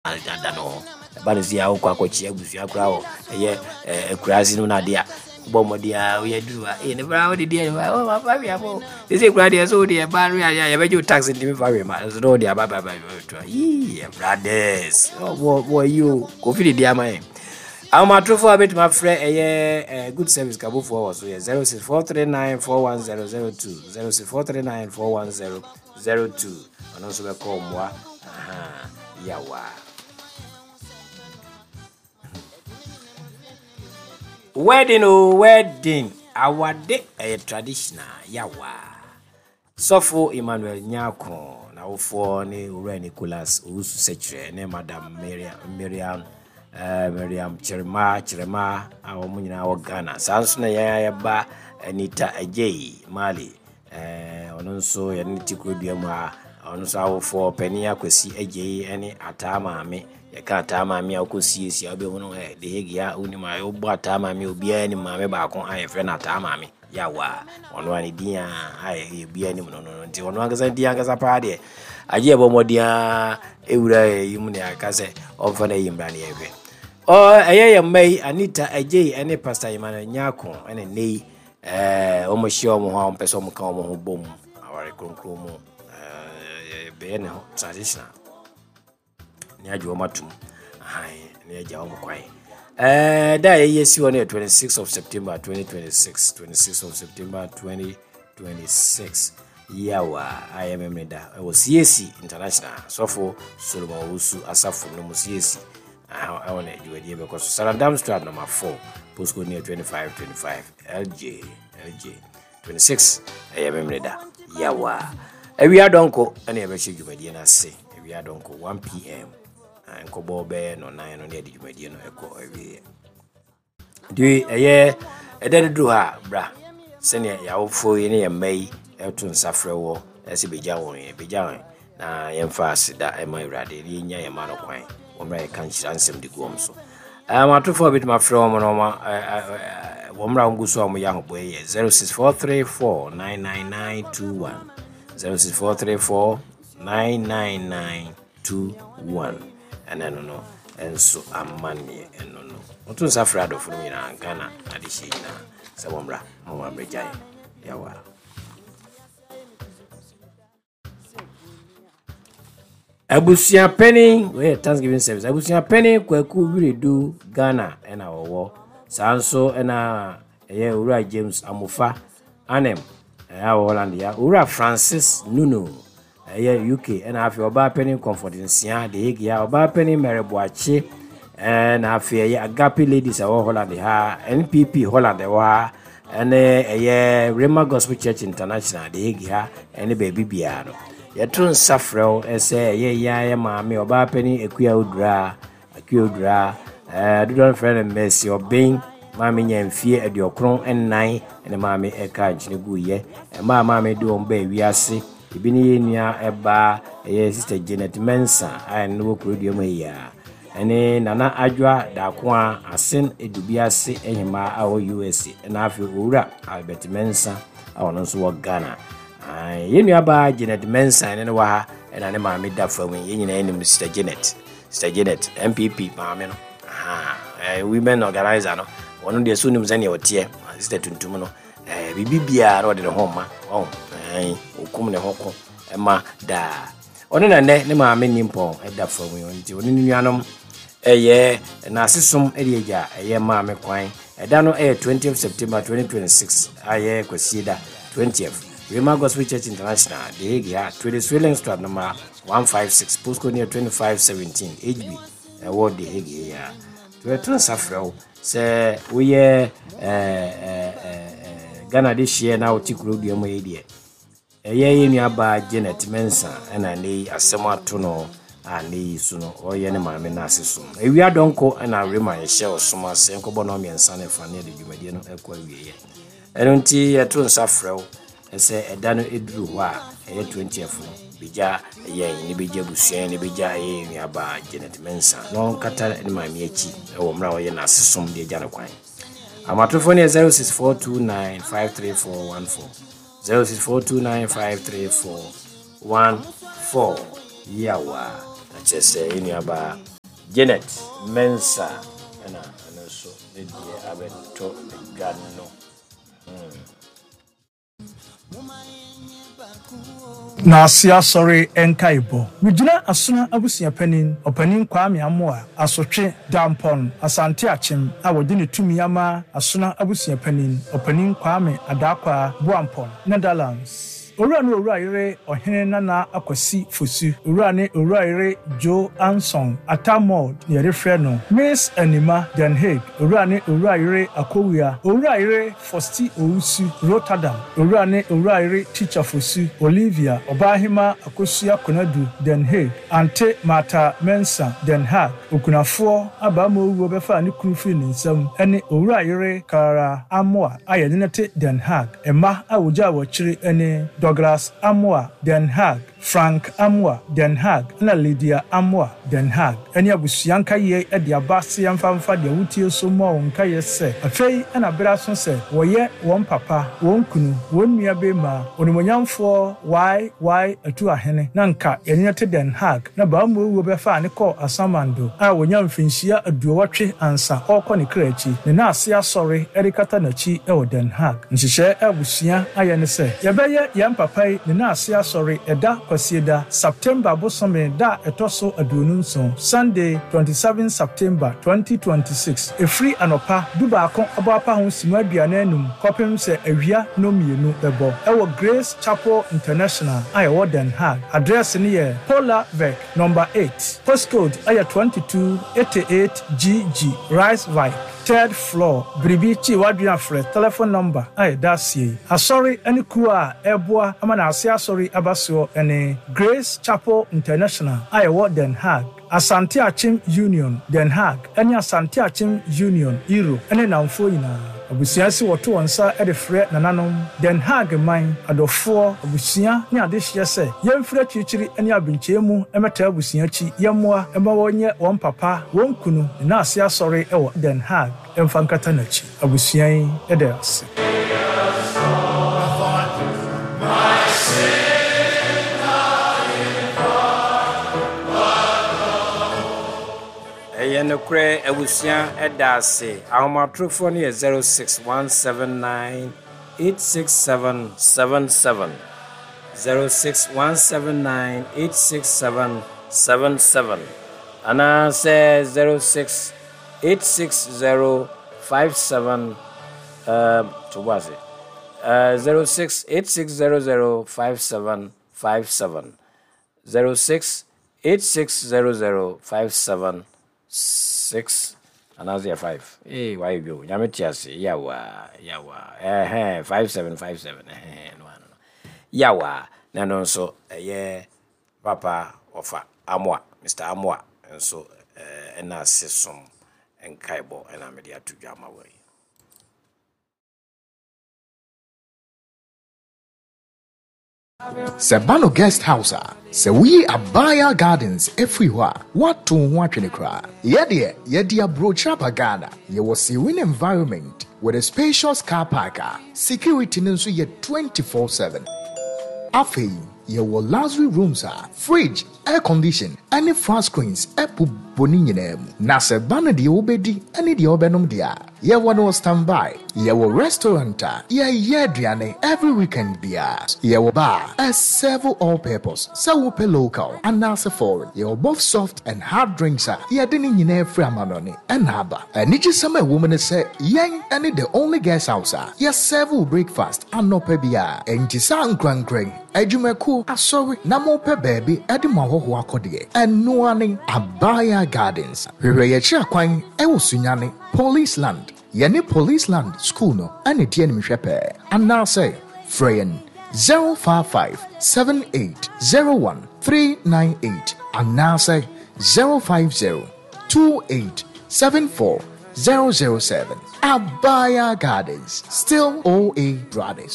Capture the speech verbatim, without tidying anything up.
Dada no ɛba no si a, wokɔ akɔkyea abusua koraa wɔ ɛyɛ akuraase no, no adeɛ a wobɔ mmɔden a woyɛ duru a, ɛyɛ ne bra wode deɛ fa hwɛ mo sɛsɛ koraa deɛ, sɛ wode ɛba no yɛ a, yɛbɛgye wo tax, ntimi fa hwɛ ma so na wode aba ba yii. Brothers wɔ yi o, Kofi de di ama yɛn. Ahomatorofoɔ a bɛtumi afrɛ ɛyɛ Good Service kabofoɔ wɔ so yɛ zero six four three nine four one zero zero two, zero six four three nine four one zero zero two. Ɔno nso bɛkɔ mmoa yawa. Wedding o, wedding, awade ɛyɛ traditional yawa. Sɔfo Emmanuel Nyako n'awofoɔ ne Owura Nicholas Owusu Sɛkyerɛ ne Madam Miriam Miriam uh, Miriam Kyerema Kyerema a wɔn nyinaa wɔ Ghana. Saa nso na yɛn ayɛba Anita Agyei Mali, ɔno nso yɛne ne ti kurodua mu a, ɔno nso awofoɔ panin Akwasi Agyei ne Ataa Maame. Yɛka Ataa Maame a, wokɔ siesie a, wobɛhunu ɛ de hegi a wonim a wobɔ Ataa Maame. Obiara nim maame baako a yɛfrɛ no Ataa Maame yawa. Ɔno a ne din a a obiara nim no no nti ɔno ankasa din ankasa paa deɛ, agye yɛbɔ mmɔden a ɛwura yi mu ne aka sɛ ɔmfa no ayi mmra ne yɛhwɛ. Ɛyɛ yɛn mma yi, Anita Agyei ne Pastor Emmanuel Nyako, ɛne nne yi wɔn ahyia wɔn ho a wɔmpɛ sɛ wɔn ka wɔn ho bom aware kronkron mu, bɛyɛ ne ho traditional ne agye wɔn atum ne agya wɔn kwan. ɛɛ da a yɛyɛ si hɔ no yɛ twenty-six of September twenty twenty-six, twenty-six of September twenty twenty-six, yawa a yɛ memene da ɛwɔ C A C International, Sɔfo Solomon Owusu asafo no mu, C A C ɛwɔ na dwumadie bɛkɔ so, Sarandaamstraat number four, postcode near twenty-five twenty-five L J L J. twenty-six ɛyɛ memene da yawa. Awia dɔnko ɛna yɛbɛhyɛ dwumadie no ase. Awia dɔnko one p m, nkɔbɔ bɛyɛ no nan no ne yɛde dwumadie no ɛkɔ awieɛ. Nti ɛyɛ ɛda no duru hɔ a, bra sɛnea yɛawofoɔ yi ne yɛn mma yi ɛto nsa frɛ wɔ ɛsɛ bɛgya wɔn, yɛ bɛgya wɔn na yɛmfa aseda ɛma Awurade na yɛnya yɛn ma no kwan wɔmmra yɛka nhyira nsɛm de gu wɔn so. Atofoɔ a bɛtumi afrɛ wɔn no, wɔn mmra wɔn gu so a wɔyɛ ahobɔ yɛ zero six four three four nine nine nine two one, zero six four three four nine nine nine two one. Ɛna no no nso amanneɛ ɛno no wɔto nsa frɛ adɔfo no nyinaa, Ghana adehyɛ nyinaa, sɛ wɔmmra ma wɔn ammerɛgya yɛ yawa. Abusuapanin, wɔyɛ thanksgiving service. Abusuapanin Kwaku Wiredu, Ghana ɛna wɔwɔ. Saa nso ɛna ɛyɛ Owura James Amofa Anem ɛyɛ wɔ Holland ya, Owura Francis Nunu ɛyɛ U K, ɛna afei ɔbaa panin Comfort Nsia de Hague ha, ɔbaa panin Mary Boakye, ɛna afei ɛyɛ Agape Ladies ɛwɔ Holland ha, N P P Holland ɛwɔ ha, ɛne ɛyɛ Rhema Gospel Church International de Hague ha, ɛne baabi biara no yɛto nsa frɛ wo sɛ ɛyɛ yɛn ayɛ maame ɔbaa panin Akua Odura, Akua Odura, ɛɛ dodoɔ no frɛ no Mercy Ɔbɛn. Maame nya mfie aduɔkron nnan ɛne maame ɛka nkyene gu yɛ. Mmaa maame de wɔn baa wiase ebi ne yɛn nua ɛbaa ɛyɛ Sister Janet Mensa a ɛno wɔ kurodua mu yi a, ɛne Nana Adwoa Daako a Asen Edubiase ɛhemaa a ɔwɔ U S A, ɛna afei Owura Albert Mensa a ɔno nso wɔ Ghana. Yɛn nuabaa Janet Mensa ɛne no wɔ ha, ɛna ne maame da fam. Yɛn nyinaa anim Sister Janet, Sister Janet N P P maame no, women organizer no. Ɔno deɛ so nim sɛnea ɔteɛ. Sister tuntum no, biribi biara na ɔde ne ho ma ɔn ɔkum ne ho ko ɛma daa. Ɔno na nnɛ ne maame nimpɔn ɛda fam yi, nti ɔne ne nuanom ɛyɛ n'asesom ɛde agya ɛyɛ maame kwan. Ɛda no ɛyɛ twentieth September twenty twenty-six, ayɛ Kwasie da twentieth, Rhema Gospel Church International, The Hague ha, Tweede Swillenstraat number one five six, postcode near twenty-five seventeen H B, ɛwɔ The Hague yi a. Yɛto nsa frɛ wo sɛ woyɛ Ghana de hyeɛ na wote kurodua mu yi deɛ, ɛyɛ yɛ nuabaa Janet Mensa ɛna ne yi asɛm ato no a, ne yi so no ɔyɛ ne maame no ase so. Ewia dɔnko ɛna Rema yɛhyɛ ɔsom ase, nkɔbɔ no mmiɛnsa ne fa ne yɛde dwumadie no ɛkɔ awieɛ. Ɛno nti yɛto nsa frɛ wo ɛsɛ ɛda no ɛduru hɔ a, ɛyɛ twentieth no, bɛgya yɛn ne bɛgya abusua ne bɛgya ɛyɛ yɛn nuabaa Janet Mensa na ɔnkata ne maame akyi ɛwɔ mmerɛ a ɔyɛ n'asesom de agya no kwan. Amatorofoɔ no yɛ zero six four two nine five three four one four, zero six four two nine five three four one four. Yawa na kyerɛ sɛ yɛn nuabaa Janet Mensa ɛna ɛno nso ne deɛ abɛtɔ dwa no. Hmm. Naase Asɔre Nkaebɔ. Megyina Asona Abusua Panin, Ɔpanin Kwame Amoah, Asotwe, Dampɔn, Asante Akyem a wɔde ne tumi ama Asona Abusua Panin, Ɔpanin Kwame Adakwaa, Boampɔn, Netherlands. Owura ne Owura Yere Ɔhene Nana Akwasi Fosu, Owura ne Owura Yere Joe Anson, Atta Maud na yɛde frɛ no, Miss Anima, Den Haag, Owura ne Owura Yere Akowua, Owura Yere Fosti Owusu, Rotterdam, Owura ne Owura Yere Teacher Fosu, Olivia, Ɔbaahema Akosua Konadu, Den Haag, Ante Martha Mensah, Den Haag, Okunafoɔ Abaama Owuo bɛfaa ne kunu firii ne nsam, ne Owura Yere Clara Amoah a yɛne no te Den Haag. Mma a wogyaa wɔ akyiri ne Douglas Amoah, Den Haag, Frank Amoah, Den Haag, ɛna Lydia Amoah, Den Haag, ne abusua nkaeɛ de aba se yɛmfa mfa deɛ wotie so mmɔ wo nkaeɛ sɛ afei na berɛ aso sɛ wɔyɛ wɔn papa, wɔn kunu, wɔn nua beema, Onimuonyamfoɔ Y Y. Atuahene, na nka yɛne no te Den Haag, na Baamuowuo bɛfaa no kɔɔ Asamando a wɔnya mfinhyia aduowɔtwe ansa ɔrekɔ ne kra akyi, ne naase asɔre de kata n'akyi wɔ Den Haag. Nhyehyɛɛ a abusua ayɛ ne sɛ yɛbɛyɛ yɛn papa yi ne naase asɔre ɛda Kwasieda, September bosome da a ɛtɔ so aduonu nson, Sunday twenty seven September twenty twenty six, ɛfiri anɔpa du baako abɔ apa ho simma aduanan num kɔpem sɛ awia nnɔnmienu bɛbɔ, ɛwɔ Grace Chapel International a ɛwɔ Den Haag. Address no yɛ Polarweg number eight, postcode yɛ twenty two eighty eight G G, Rijswijk, third floor. Biribi kyi w'adwene a frɛ telephone number a ɛda aseɛ yi. Asɔre ne kuo a ɛreboa ama n'ase asɔre aba soɔ ne Grace Chapel International a ɛwɔ Den Haag, Asante Akyem Union Den Haag ne Asante Akyem Union Europe ne nnamfoɔ nyinaa. Abusua si wɔto wɔn nsa de frɛ nananom, Den Haag man, adɔfoɔ, abusua ne adehyeɛ sɛ yɛmfiri akyirikyiri ne abenkyɛn mu mmɛtaa abusua akyi, yɛmmoa ma wɔnyɛ wɔn papa, wɔn kunu, ne n'ase asɔre wɔ Den Haag mfa nkata n'akyi. Abusua yi da ase. Ɛyɛ nokorɛ, abusua da ase. Ahomatorofoɔ no yɛ zero six one seven nine eight six seven seven seven, zero six one seven nine eight six seven seven seven anaasɛ zero six eight six zero five seven, um, to bo ase, uh, zero six eight six zero zero five seven five seven, zero six eight six zero zero five seven six anaasɛ yɛ five. Ee, wayɛ bi o, Nyame te ase. Yawa yawa, ɛhɛn, five seven five seven, ɛhɛn, no ano no yawa. Na ɛno nso ɛyɛ papa ɔfa Amoa, Mister Amoa nso ɛna ase som nkaebɔ ɛna mede ato dwa ama wɔ yi. Sɛ ba no guest house a, sɛ woyi Abaya Gardens afiri hɔ a, woato wo ho atwene koraa. Yɛdeɛ, yɛde aburokyire aba Ghana. Yɛwɔ serene environment with a spacious car park a security no nso yɛ twenty four seven. Afei, yɛwɔ luxury rooms a fridge, air condition ne flat screens bobɔ ne nyinaa mu. Na sɛ ba no deɛ wobɛdi ne deɛ wobɛnom deɛ a, yɛwɔ no wɔ standby. Yɛwɔ restaurant a yɛyɛ aduane every weekend biara. Yɛwɔ bar a serve all purpose, sɛ wopɛ local anaasɛ foreign. Yɛwɔ both soft and hard drinks a yɛde ne nyinaa firi amanɔne ɛna aba. Anigyesɛm a ɛwɔ mu ne sɛ yɛn ne the only guest house a yɛserve wo breakfast anɔpa biara. Enti saa nkrankran, adwumakuo, asɔre na mopɛ baabi de mo ahɔhoɔ akɔdeɛ, ɛnoa ne Abaya Gardens. Hwehwɛ yɛkyerɛ kwan ɛwɔ Sunyane, Police Land. Yɛne Police Land School no ɛne di animhwɛ pɛɛ. Anaasɛ frɛ yɛn zero five five seven eight zero one three nine eight anaasɛ zero five zero two eight seven four zero zero seven. Abaya Gardens, still O A Brothers.